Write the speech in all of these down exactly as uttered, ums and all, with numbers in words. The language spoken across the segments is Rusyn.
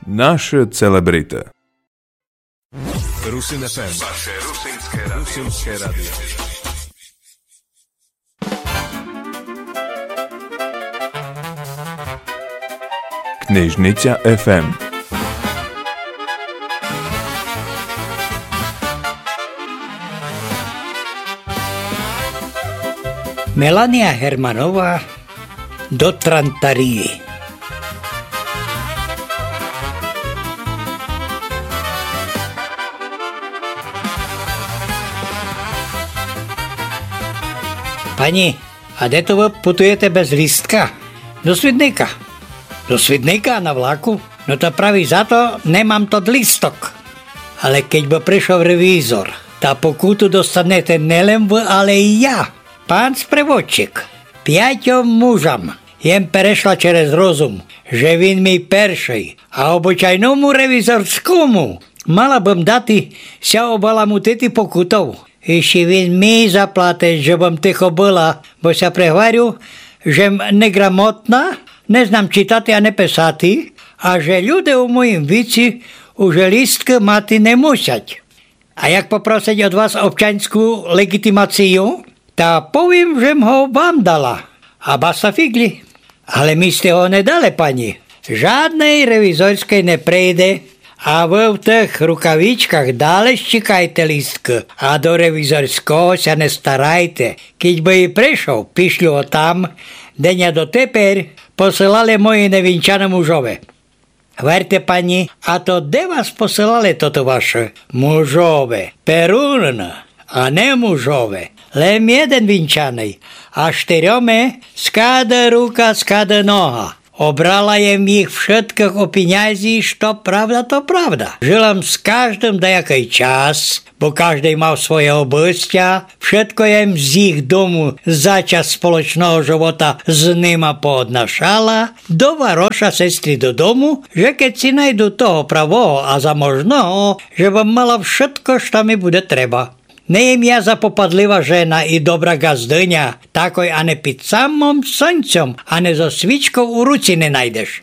Наши целебрити. Русин еф ем. Ваше русинске радио. Русинске радио. Книжниця еф ем. Меланія Германова. До Трантарії. Пані, а де то вы путуєте без лістка? До Свідника. До Свідника на влаку? Но та праві за то не мам тот лісток. Але кедь бы пришов ревізор, та покуту достанете не лем вы, але і я. Пан спреводчик, пятьом мужам єм перешла через розум, же він мій першый, а обычайному ревізорскому мала бым дати ся обаламутити покутов. Іщи він мій заплатить, же бым тихо была, бо ся пригварю, же м неграмотна, не знам читати, а не писати, а же люде у моїм віці уже лісткы мати не мусять. А як попросить од вас обчаньску леґітімацію, та повім, же м го вам дала. А баста фіґлі. Але ми сте го не дали, пані. Жадней ревізорьскей не прийде. А вы в тых рукавичках дале щікайте лісткы, а до ревізорьского ся не старайте. Кідь бы і пришов, пішлю го там, де ня дотепер посылали мої невінчаны мужове. Гварте, пані, а то де вас посылали тото вашы мужове? Перун, а не мужове. Лем єден вінчаный, а штирьоме скада рука, скада нога. Обрала єм їх вшыткых о пінязі, што правда, то правда. Жыла м з каждым даякый час, бо каждый мав своє обыстя, вшытко єм з їх дому за час сполочного жывота з нима пооднашала, до вароша сестрі додому, же кедь си найду того правого а заможного, же бым мала вшытко, што ми буде треба. Не єм я запопадлива жена і добра ґаздыня, такой ане під самом сонцьом, ане зо свічков у руці не найдеш.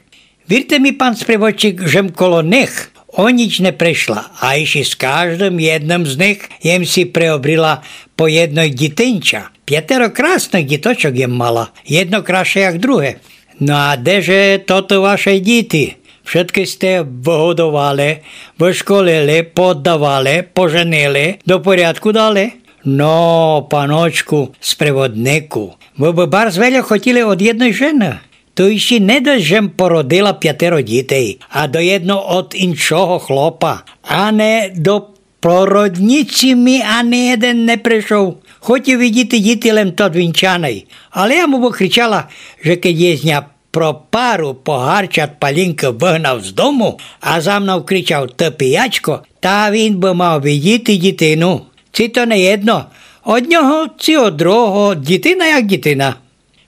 Вірте ми, пан спреводчик, же м коло них о ніч не пришла, а іщи з каждым єдным з них єм си приобріла по єдно дітинча. Пятеро красных діточок єм мала, єдно красше як друге. Но а де же тото ваше діти? Вшыткы сте выгодовали, вышколили, поддавали, поженили, до порядку дали? Но, паночку спреводнику, вы бы барз вельо хотіли од єдной жены. То іщи не досьт, же м породила пятеро дітей, а до єдно од іншого хлопа. Ане до породнїці ми ани єден не пришов. Хотів видіти діти лем тот вінчаный. Але я му выкричала, же кедь єсь ня про пару погарчат палінкы выгнав з дому, а за мнов кричав: «Ты піячко», та він бы мав видіти дітину. Ци то не єдно. Од нього ци од другого дітина як дітина.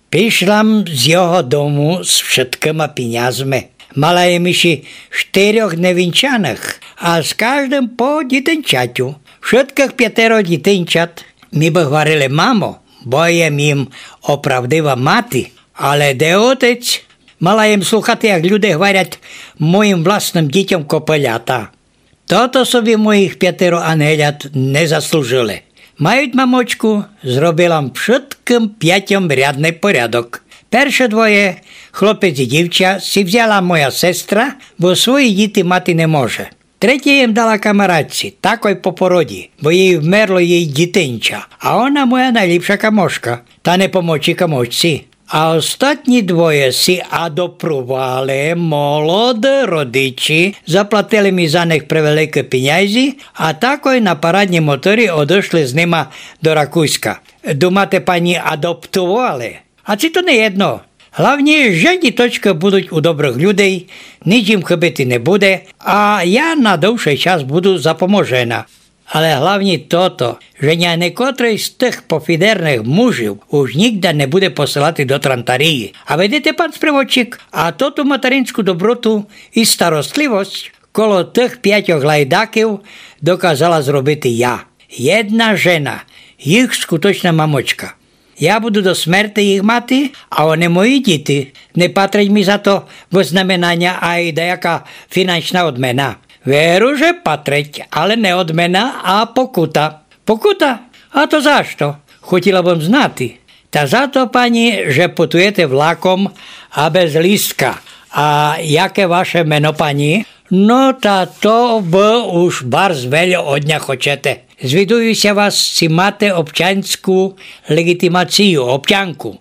Пішла м з його дому з вшыткыма пінязми. Мала єм іщи штирьох невінчаных, а з каждым по дітинчатю. Вшыткых пятеро дітинчат ми бы гварили мамо, бо єм їм оправдива мати. Але де отець? Мала єм слухати, як люде гварят моїм власным дітьом копелята. Тото собі моїх пятеро ангелят не заслужили. Мають мамочку, зробила м вшыткым пятьом рядный порядок. Перше двоє, хлопець і дівча, си взяла моя сестра, бо свої діти мати не може. Третє єм дала камаратці, такой по породі, бо їй вмерло їй дітинча, а она моя найліпша камошка, та не помочи камошці. А остатні двоє си адопровали, молоды родичі, заплатили ми за них превеликы пінязи, а такой на параднім мотори одышли з нима до Ракузька. Думате, пані, адоптовали? А ци то не єдно. Главні, же діточкы будуть у добрых людей, ніч їм хыбити не буде, а я на довшый час буду запоможена. Але главні тото, же ня никотрый з тых пофідерных мужів уж нїґда не буде посылати до Трантарії. А видите, пан спреводчик, а тоту материнску доброту і старостливость коло тых пятьох лайдаків доказала зробити я. Єдна жена, їх скуточна мамочка. Я буду до смерти їх мати, а они мої діти. Не патрить мі за то вызнамінаня ай даяка фінансна одмена? Верю, же патрить, але не одмена, а покута. Покута? А то за што? Хотіла бым знати. Та за то, пані, же путуєте влаком, а без лістка. А яке ваше мено, пані? Но та то вы уж барз вельо од ня хочете. Звідую ся вас, ци мате обчаньску леґітімацію, обчанку.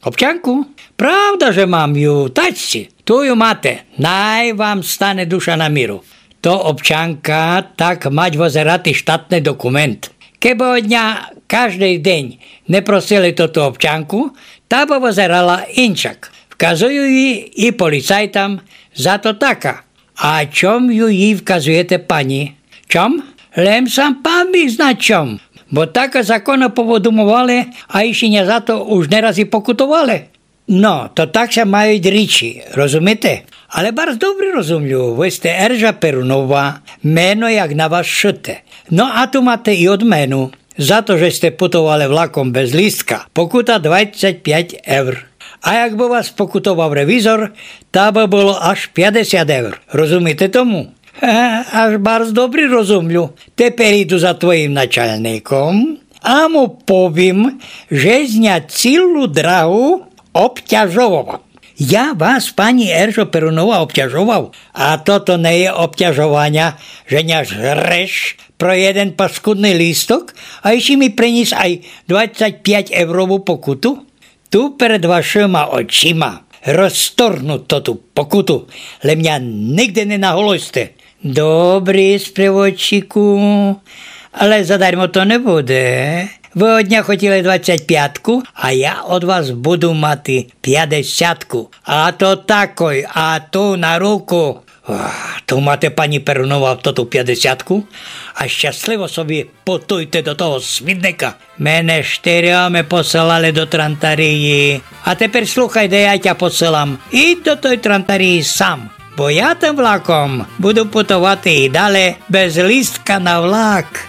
Обчанку? Правда, же мам ю, тачці. Ту ю мате, най вам стане душа на міру. То обчанка, так мать вызерати штатный документ. Кебы од ня каждый день не просили тоту обчанку, та бы вызерала инчак. Вказую ї і поліцайтам, за то така. А чом ю їй вказуєте, пані? Чом? Лем сам пан біг зна чом. Бо так законы повыдумовали, а іщи ня за то уж не раз і покутовали. Но, то так ся мають річі, розумите? Але барз добрі розумлю, вы сте Ержа Перунова, мено як на вас шыте. Но а ту мате і одмену. За то, же сте путовали влаком без лістка, покута двадцять пять евр. А якбы вас покутовав ревізор, та бы было аж пятдесят евр. Розумите тому? Е, аж барз добрі розумлю. Тепер іду за твоїм начальником, а му повім, же ня цілу драгу обтяжовав. Я вас, пані Ержо Перунова, обтяжовав? А тото не є обтяжованя, же ня жреш про єден паскудный лісток, а іщи мі приніс ай двадцять пять еврову покуту? Ту перед вашыма очима розторгну тоту покуту, лем ня нигде не наголосьте. Добрі, спреводчику, але задармо то не буде. Вы од ня хотіли двадцять пятку, а я од вас буду мати пятдесятку. А то такой, а ту на руку. Ох, ту мате, пані Перунова, тоту пятдесятку, а щасливо собі путуйте до того смітника. Мене штирьома посылали до Трантарії. А тепер слухай, де я тя посылам. Ідь до той Трантарії сам, бо я тым влаком буду путовати і дале без лістка на влак.